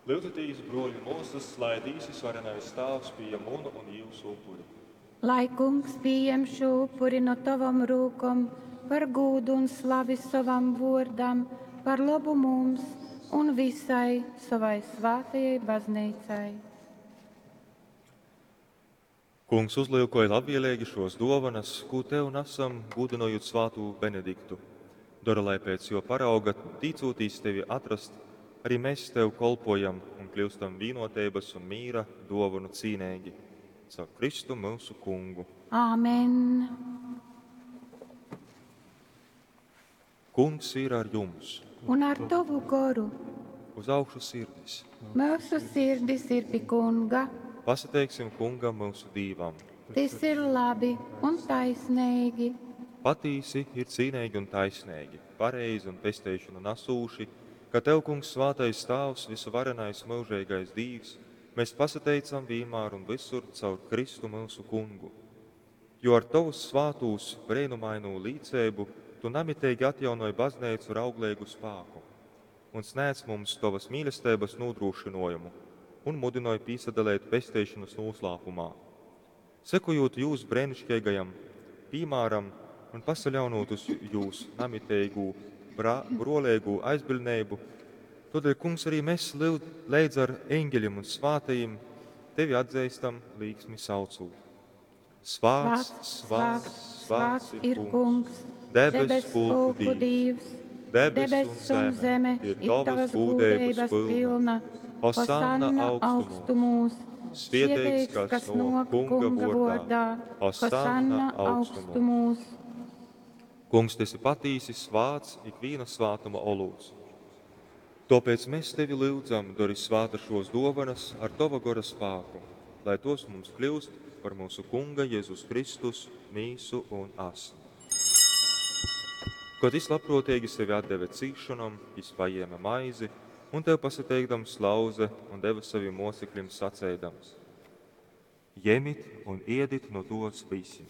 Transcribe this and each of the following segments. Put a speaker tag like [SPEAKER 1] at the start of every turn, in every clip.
[SPEAKER 1] Lyudzitīs, bruoļi un muosys, lai Dīvs Vysvarenais Tāvs pījem munu un jiusu upuri.
[SPEAKER 2] Lai Kungs pījem šū upuri nu tovom rūkom par gūdu un slavi sovam vōrdam, par lobu mums un vysai sovai svātajai Bazneicai.
[SPEAKER 1] Kungs uzlyukoj labvieleigi šuos duovanas, kū tev nasam, gūdynojūt svātū Benediktu. Dora, lai pēc juo parauga, tīcūtīs tevi atrast, arī mēs tev kolpojam un kļiustam vīnuoteibys un mīra duovonu cīneigi. Caur Kristu myusu Kungu.
[SPEAKER 2] Āmen.
[SPEAKER 1] Kungs ir ar jums!
[SPEAKER 2] Un ar tovu goru.
[SPEAKER 1] Uz augšu sirdis!
[SPEAKER 2] Myusu sirdis ir pi Kunga.
[SPEAKER 1] Pasateiksim Kungam myusu Dīvam!
[SPEAKER 2] Tys ir labi un taisneigi.
[SPEAKER 1] Patīsi ir cīneigi un taisneigi, pareizi un pesteišonu nasūši, ka Tev, Kungs, svātais Tāvs, vysuvarenais myužeigais Dīvs, mēs pasateicam vīnmār un vysur caur Kristu myusu Kungu. Jo ar Tovu svātūs breinumainū līceibu Tu namiteigi atjaunoj Bazneicu ar augleigu spāku un snēdz mums Tovas mīlesteibas nūdrūšynuojumu un mudynoj pīsadaleit pesteišonys nūslāpumā. Sekojūt jūs breiniškeigajam pīmāram un pasaļaunūt uz jūs namiteigū bruoleigū aizbiļdneibu, tuodeļ, Kungs, arī mes leidz ar eņgeļim un svātajim Tevi atzeistam līksmi saucūt. Svāts, svāts, svāts ir Kungs, debess pulku Dīvs. Debess un zeme ir Tovas gūdeibas pylna. Hosanna augstumūs. Svieteigs, kas nōk Kunga vōrdā. Hosanna augstumūs. Kungs, Tu esi patīsi svāts, ikvīna svātuma olūts. Tōpēc mēs Tevi lyudzam, dori svātas šos dōvanas ar Tova gora spāku, lai tos mums kļūst par mūsu Kunga Jezus Kristus mīsu un asni. Kod jis labprōteigi sevi atdeve cīsšonom, jis pajēme maizi un Tev pasateikdams lauze un deve sovim mōceklim saceidams: Jemit un iedit nu tos visi,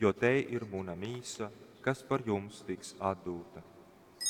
[SPEAKER 1] jo tei ir muna mīsa, kas par jums tiks atdūta.